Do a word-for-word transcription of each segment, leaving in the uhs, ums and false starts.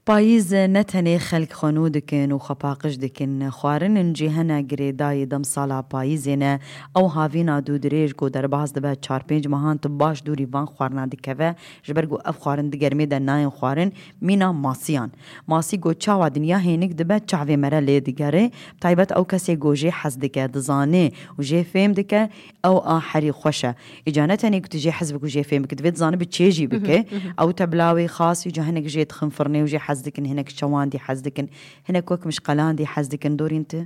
Payîz ne tenê xelk xwe nû dikin û xwe paqij dikin. Xwarin in jî hene girêdayî demsala payîzê ne. Ew havîna dûdirêj ku derbas dibe çar pênc mehan tu baş dûrî van xwarina dikeve, ji ber ku ev xwarin di germê de nayên xwarin, mîna masiyan. Masî ku çawa dinya hênik dibe, çavê me re lê digere. Bi taybet ew kesê ku jê hez dike, dizane û jê fêm dike, ew a herî xweş e. Îca ne tenê ku tu jê hez bik û jê fêm bik, divê dizanî bi çê jî bike. Ew tebla wê xas, îca hinek jê dixin firnê û jê hez dikin, hinek çewandî hez dikin, hinek wek mişqelandî hez dikin. Dorîn tu?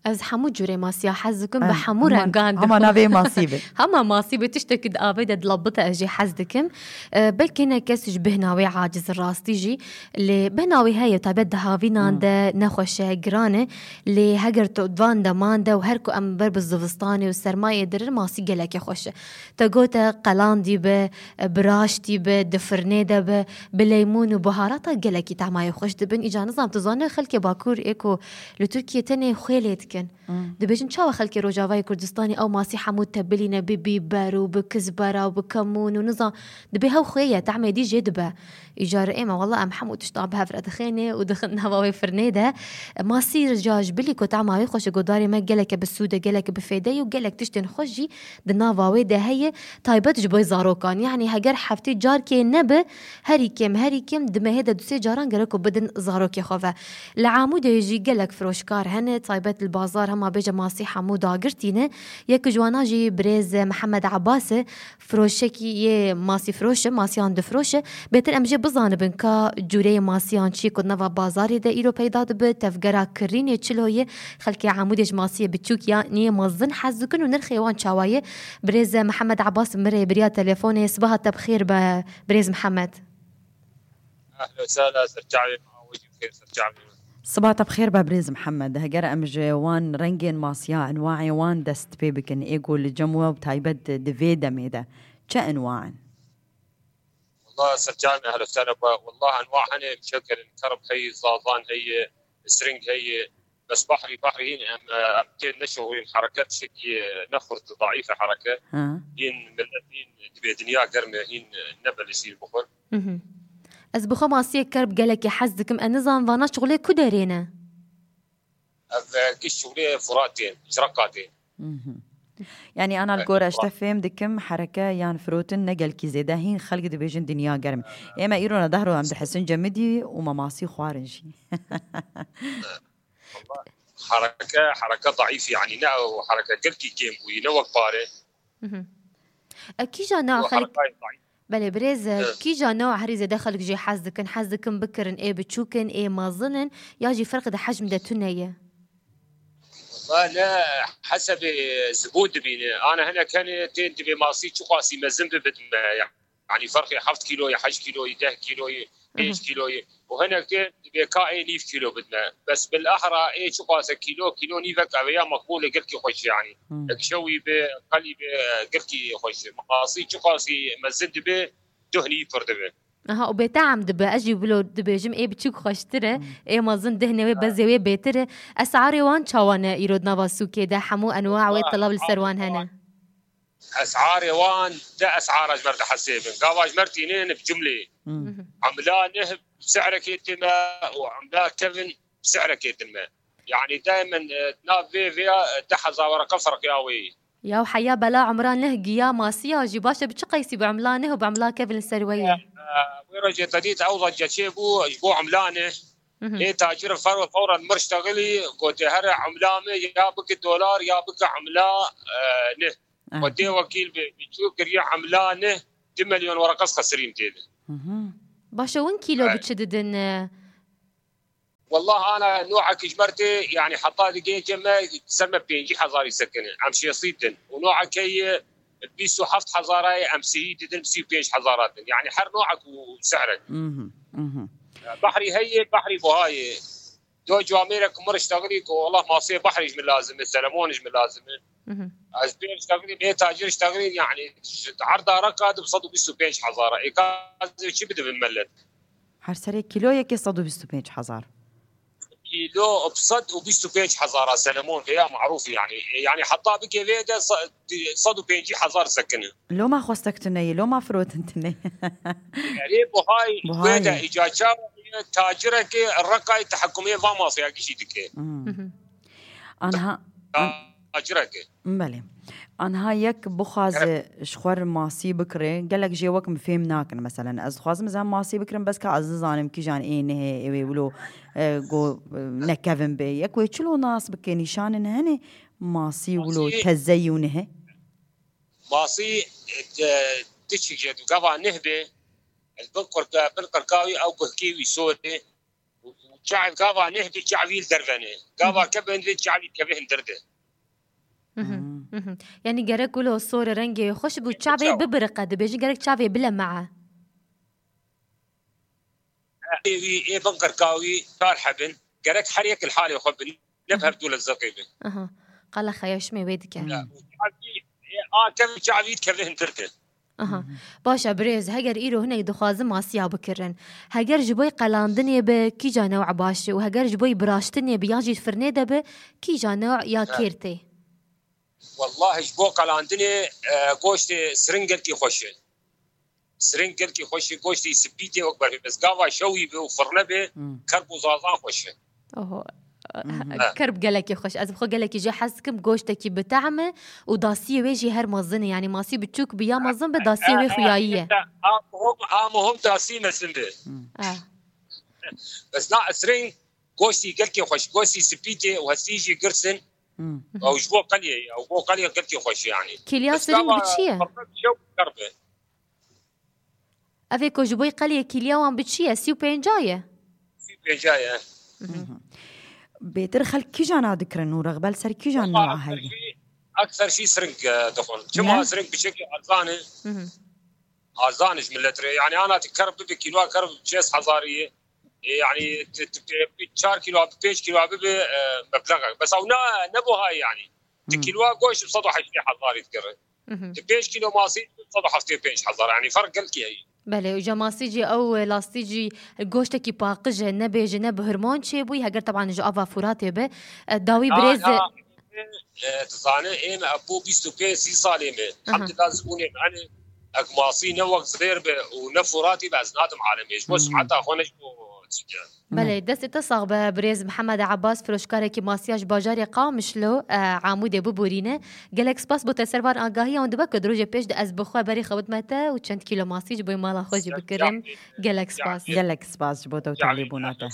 Ez hemû cûrê masiya hez dikim, bi hemû rengan dixwim. Hema navê masî be. Hema masî be, tiştekî di avê de dilabite ez jê hez dikim. E, belkî hinek kes ji bihna wê aciz rastî jî, lê bihna wê heye, taybet di havînan de nexweş e, giran e. Lê heger tu van deman de û her ku em ber bi zivistanê û sermayê dirin, masî gelekê xweş e. Te gote qelandî be, bi raştî be, di firnê de be, bi leymûn û buharata gelekî tahmayê xweş dibin. Îca nizam tu zanî xelkê Bakur ê ku li Tirkiyê tenê xwê lê dikin. Dibêjin çawa xelkê Rojavayê Kurdistanê ew masî hemû tebilîne bi bîber û bi kizbera û bi kemûn û nizam dibê hew xwê ye, tahmê dî jê dibe. Îcar ê me, wela em hemû tişta bi hev re dixêne û dixin nava wê firnê de. Masî ca ji bilî ku tama wê xweş e, godarê me geleke bi sûd e, geleke bi fêde ye û gelek tiştên xweş jî di nava wê de heye, taybet ji bo zarokan. Yanî heger heftê carkê nebe, herî kêm, herî kêm di mehê de du sê caran gerek ku bidin zarokê xwe ve. Li Amûdê jî gelek firoşkar hene, taybet li bazar hema bêje masî hemû dagirtî ne. Yek ji wana jî birêz Mihemed Abbas e, firoşekî yê masî firoş e, masiyan difiroşe. Bêtir em jê bizanibin ka cûreyê masiyan çi ku nava bazarê de îro peyda dibe, tevgera kirînê çilo ye, xelkê Amûdê ji masiyê biçûk yan yê mezin hez dikin û nirxê wan çawa ye. Birêz Mihemed Abbas min rêbiriya telefonê, sibaha te bi xêr be birêz Mihemed. Ehlo sala, serçavê me, awacî bi xêr serçavê me. Siba te bi xêr be birêz Mihemed. Heger em ji wan rengên masiya, enwaê wan dest pê bikin, ê ku li cem we bi taybet di vê demê de çi enwa in? Wallah serçavê me, ehlo sala be. Wallah enwa hene, muşekel in, kerb heye, zazan heye, sring heye. Bes bahrî, bahrî hîn em, em tê neşuxulîn, hereket şekî ne xurt, daîf e hereket. Ha. Hîn millet hîn dibê dinya germ e, hîn ne belê şîr bixwin. Mhm. Ez bi xwe masiyek kerb gelekî hez dikim. Ez nizanim vana şuxulê ku derê ne? Ev, e, giş şuxulê Furatê, Çireqatê. Mhm. Yanî ana li gor ez te fêm dikim, hereke yan firotin ne gelkî zêde hîn xelk dibêjin dinya germ. Ê me îro ne dehro em dihesin cemidî û me masî xwarin jî. Hereke, hereke daîf, yanî ne ew hereke gelkî kêm bûyî, ne wek pare. Mhm. E, kîja ne xelk Belê birêz, e, kîja ne herî zêde xelk jê hez dikin, hez dikin bikirin, ê biçûk in, ê mezin in, ya jî ferq di hecm de tune ye? Wala ne hesebê zibûn dibîne. Ana hinek hene tên dibê masî çiqasî mezin bi bidme. Yanî ferqê heft kîloyê, heşt kîloyê, deh kîloyê, pênc kîloyê. Û hinek tên dibê ka ê nîv kîlo bidme. Bes bil ehra ê çiqas e kîlo, kîlo nîvek ev ya meqbûl e, gelkî xweş e yanî. Hmm. Ek şewî be, qelî be, gelkî xweş e. Masî çiqasî mezin dibe, duhnî pir dibe. Aha, û bêteam dibe. Ez jî wilo dibêjim, ê biçûk xweştir e, hmm, ê mezin dihne wê, ha, bezê wê bêtir e. Esarê wan çawa ne îro di nava sûkê de? Hemû enwa wê, wala, telav li ser wan hene. Esarê wan de esara ji me re dihesibin. Gava ji me re tînin bi cumlê. Hmm. Mhm. Emla neh bi sehrekê tine û emla kevin bi sehrekê tine. Yanî daimen, e, nav vê vêya, e, deh hezar wereqe ferqiya wê. Ya heya bela emla neh giya masiya jî baş e, bi çi qeysî bi emla neh û bi emla kevin li ser we ye? E, e, wê rojê te dît ew zecce çê bû ji bo emla neh. Mhm. Ê tacir fer-, fewren mir ştexilî, gotê here emla me ya bike dolar ya bike emla, e, neh. Aha. Xwedê wekîl be, biçû kiriye emla neh, du milyon wereqe xesirîn tê de. Mhm. Baş e, win kîlo, evet, bi çi didin, e? Wallah ana no'ek ji me re tê, yanî heta digê cem me ser me pêncî hezarî sekine. Em şêstî din. Û no'ek heye bîst û heft hezara ye, em sihî didin, sî û pênc hezara din. Yanî her no'ek û sehrek. Mhm, mhm. Behrî heye, behrî buha ye. Do camêrek mir ştexilî ku, wallah, masê behrî ji min lazim e, selemon ji min lazim e. Mhm. Ez pê ştexilî, bê tacir ştexilî, yanî ji erda reka di bi sed û bîst û pênc hezara. Ê ka ez ê çi bidibim millet? Her serê kîloyekê sed û bîst û pênc hezar. Kîlo bi sed û bîst û pênc hezara selemon, vêya marûf e yanî. Yanî heta bike vê de se-, sed û pêncî hezar sekine. Loma xwestek tune ye, loma firotin tune ye. Erê buhay, buhay wê de ye. Îca çawa Tacireke Reqayê tehekumê va masiyakî jî dike. Hmm. Mhm. Anha, an- Tacireke. Belê. Anha yek bixwaze ji xwe re masî bikire, gelek jê wek min fêm nakin. Meselen, ez dixwazim ez hem masî bikirim, bes ka ez nizanim kîjan ê nihê, ê wê wilo, e, go, e, nekevin bê. Yek wê çilo nas bike, nîşanin hene masî wilo Masî tezeyî û nihê? Masî, e, de, diçik jê du gava nih bê, ez bin qirka, bin qirka wî ew guhkê wî sor e. Û, û çav gava nih bê çavî li derve ne. Gava Mhm. kevin bê çavî kevê hindir de. Mhm, Hmm. mhm. Yani gerek wilo sor rengê xweş bû, çavê Çaw. bibiriqe, dibêjin gerek çavê bile me'e. Ê wî, ê bin qirka wî çar hebin. Gerek her yek li halê xwe bin. Ne bi hev du lezzeqê bin. Aha. Qala xeya şimê wê dike. Ya, û çavî, ê, a kevin çavî kevin hindir de. Aha. Mhm. Baş e birêz, heger îro hinek dixwazin masiya bikirin, heger ji bo qelandinê be, kîja new baş e û heger ji bo biraştinê be yan jî firnê de be, kîja new ya Ha. kêr tê? Wellahî ji bo qelandinê, e, goştê siring gelkî xweş e. Siring gelkî xweş e, goştê spî tê wek berfê. Bes gava şewî be û firne be, Hmm. kerb û zazan xweş e. Oho. Mhm. Kerb gelekî xweş. Ez bi xwe gelekî jê hez dikim, goştekî bi tehm e û dasiyê wê jî her mezin e. Yani masî biçûk bi ya mezin be, dasiyê wê xuyayî ye. A muhim, a muhim dasî mezin be. Hmm. Ah. Bes na siring goştî gelkî xweş, goştî spî tê û hestî jî girs in. Hmm. Ew ji bo qeliyê ye, ew bo qeliyê gelkî xweş e yani. Kîliya Bes siring gava bi çi ye? firne bi şew kerb e. Ev ê ku ji bo qeliyê kîliya wan bi çi ye? Sî û pênca ye? Sî û pênca ye. Mhm. Mhm. Bêtir xelk kîjan a dikirin û rexbel ser kîjan Ama newa heye? Ekser jî, ekser jî siring, e, dixwin. Çima Ne? siring biçekî erzan e? Mhm. Erzan e ji millet re. Yani ana tu kerb bibe kîloa kerb şêst hezarî ye. E, yani tu, tu pê-, çar kîloa, pênc kîloa bibe, e, mebleğek. Bes ew ne, ne buha ye yani. Tu Hmm. kîloa goşt bi sed û heştê hezarî dikire. Mhm. Tu pênc kîlo masî sed û heftê û pênc hezar, yani ferq gelkî heye. Belê, û ca masî jî ew, e, lastî jî goştekî paqij e, ne bêje, ne bi hirmon çêbûyî, heger teban ji ava Furatê be, e, dawî Ya, birêz e, ya, e, tu zane, êm e bo bîst û pênc sî salê me. Aha. Hemdillah zibûnê me hene, ek masî ne wek zêr be û ne Furatî be, ez nadim alemê. Ji bo Hmm. siheta xwe ne ji bo çi ke. Belê, destê te sax be, birêz Mihemed Abbas, firoşkarekî masiya ji bajarê Qamişlo, e, Amûdê biborîne. Gelek spas bo te ser van agahiya û dibe ku di rojê pêş de ez bi xwe berê xwe bidime te û çend kîlo masî ji bo mala xwe jî bikirim. Gelek spas. Gelek spas ji bo te û talîbûna te.